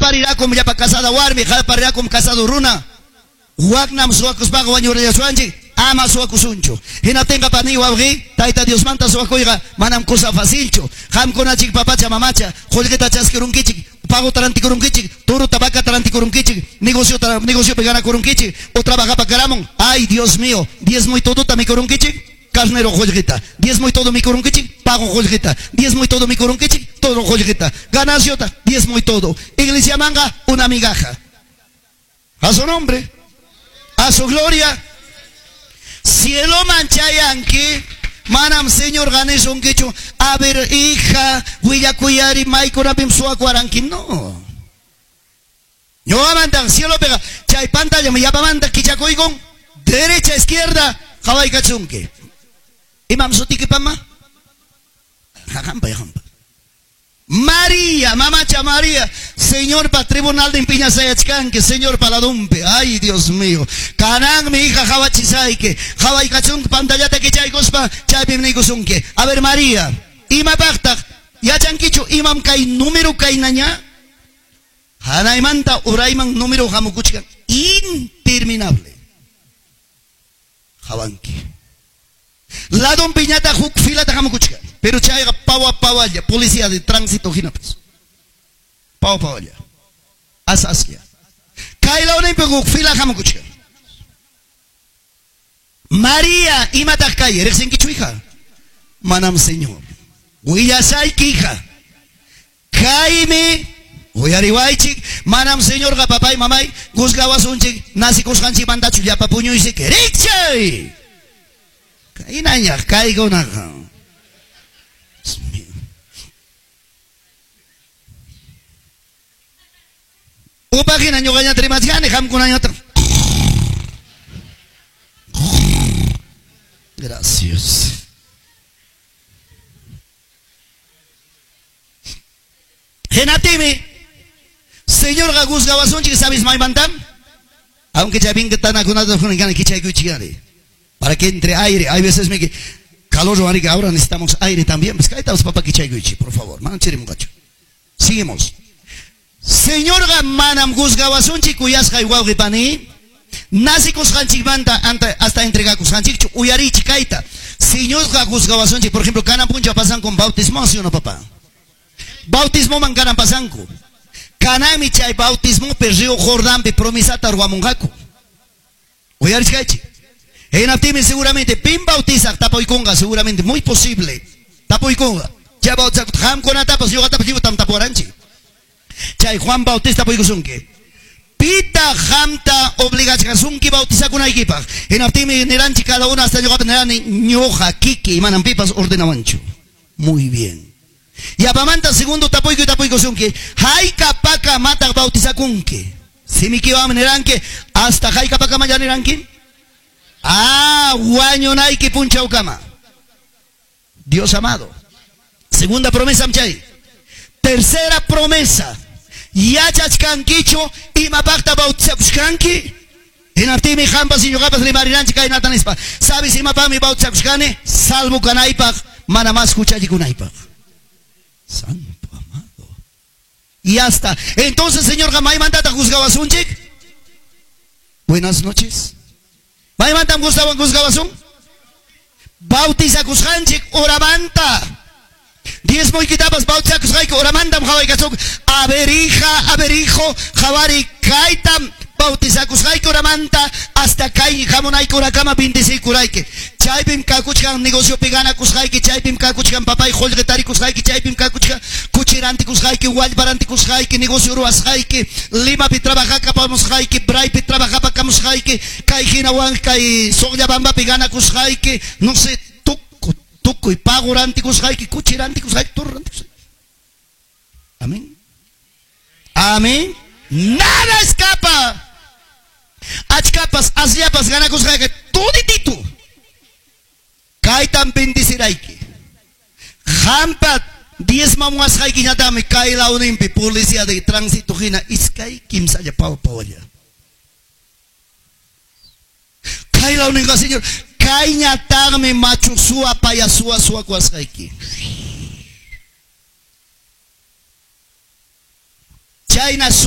Qaparirakum llapa casada warmi, qaparirakum casado runa. Waknam suwakuspaqa wañurillasuanchik, ama suwakusunchu. Hinaptinqa pani wawqi, Tayta Diosmanta suwakuyqa manam kusa facilchu. Qamkunachik papacha mamacha, qullqita chaskirunkichik, paguta rantikurunkichik, turuta vacata rantikurunkichik, negociota negociopi ganakurunkichik, o trabajapakaramun. Ay, Dios mío, diezmo y todota mikurunkichik, carnero qullqita, diezmo y todo mikurunkichik, pago qullqita, diezmo y todo mikurunkichik, todo qullqita, gananciota, diezmo y todo. Iglesia manga, una migaja. A su nombre, a su gloria. Cielo manchayanki, manam Señor ganisunkichu. A ver, hija, willakuyari maykunapim suwakuaranki. No. Ñuqamanta cielo pega, chay pantalla yapamanta kichakuykun, derecha, izquierda, qawaykachunki. Imam sutiki pama? Hampa, hampa. María, mamacha María, Señor pa tribunal de impiñasayachkanki, Señor pa ladumpi. Ay, Dios mío. Kanan mi hija hawachisayki, hawaykachunki pantallata kichaykuspa, chaypim niykusunki. A ver, María, imapaqtaq yachankichu imam kay número kaynaña? Hanaymanta urayman número hamukuchkan interminable. Hawanki. Ladumpi ñataq huk filata hamukuchkan. Pero chayqa pawa pawalla, policía de tránsito hinapas. Pawa pawalla. As aslla. Kay lawninpi huk fila hamukuchkan. María, imataq kay, riqsinkichu hija? Manam Señor. Willasayki hija. Kaymi uyariwaychik, manam Señorqa papay mamay juzgawasunchik, nasikusqanchikmantachu llapa puñuysik rikchay. Kaynañaq kaykunaqa. Upaqhina ñuqañata rimachkani, qamkunañataq. Gracias. Hinaptinmi, Señorqa juzgawasunchik, ¿sabes maymantam? Aunque ya bien que tanakunata kichaykuchikari. Para que entre aire. Hay veces me que calor, ahora necesitamos aire también. Pues kaitamos papá kichaykuchi, por favor. Manam chirimunqachu. Seguimos. Señorqa manam juzgawasunchik kuyasqay wawqi pani. Nasikusqanchikmanta hasta entregakusqanchikchu uyarichik kayta. Señorqa juzgawasunchik, por ejemplo, kanan puncha pasan con bautismo, ¿sí o no, papá? Bautismo man kanan pasanku. Kanami chay bautismo pe río Jordánpi promesata ruwamunqaku. Uyarichkaychik. Hinaptinmi seguramente pin bautizaq tapuykunqa, seguramente muy posible. Tapuykunqa. Chay bautizaq qamkunatapas ñuqatapas lliwtam tapuwaranchik. Chay Juan Bautista tapuykusunki. Pita qamta obligachkasunki bautizakunaykipaq. Hinaptinmi niranchik cada uno hasta ñuqata nirani ñuqa kiki manam pipas ordenawanchu. Muy bien. Yapamanta segundo tapuyku tapuykusunki. Haykapaka mataq bautizakunki. Simikiwanmi niranki hasta haykapakama ya niranki. Ah, wañunayki punchawkama. Dios amado. Segunda promesa, mchay. Tercera promesa. Yachachkankichu imapaqta bautizakushkanki. Hinaptinmi qampas ñuqapas rimarinanchik kaynata nispa. ¿Sabes imapaqmi bautizakushkani? Salvo kanaypaq, mana más huchallikunaypaq. Santo amado. Y hasta entonces, Señor, maymantata juzgawasunchik. Buenas noches. Maymantam juzgawasun. Bautizakusqanchik horamanta. Diezmoykitapas bautizakusqayki horamantam hawaykachuk. A ver hija, a ver hijo, hawari kaytam bautizakusqayki horamanta hasta kay hamunayki horakama bendecikurayki. Chaypim kakuchkan negociopi ganakusqayki, chaypim kakuchkan papay qullqi tarikusqayki, chaypim kakuchkan kuchi rantikusqayki, wallpa rantikusqayki, negocio ruwasqayki, Limapi trabajakapamusqayki, Braypi trabajapakamusqayki, kay hinawan kay Suqllabambapi ganakusqayki, no sé, tukuy pago rantikusqayki, kuchi rantikusqayki, toro rantikusqayki. Amén. Amén. Nada escapa. Achkapas, asllapas ganakusqayki, tudititu. Kaytam bendecirayki. Qampa diezmamuwasqaykiñatami kay lawninpi policía de tránsito hina iskay kimsalla pawa pawalla. Kay lawninqa, Señor, kayñataqmi machu suwa paya suwa suwakuwasqayki. Chayna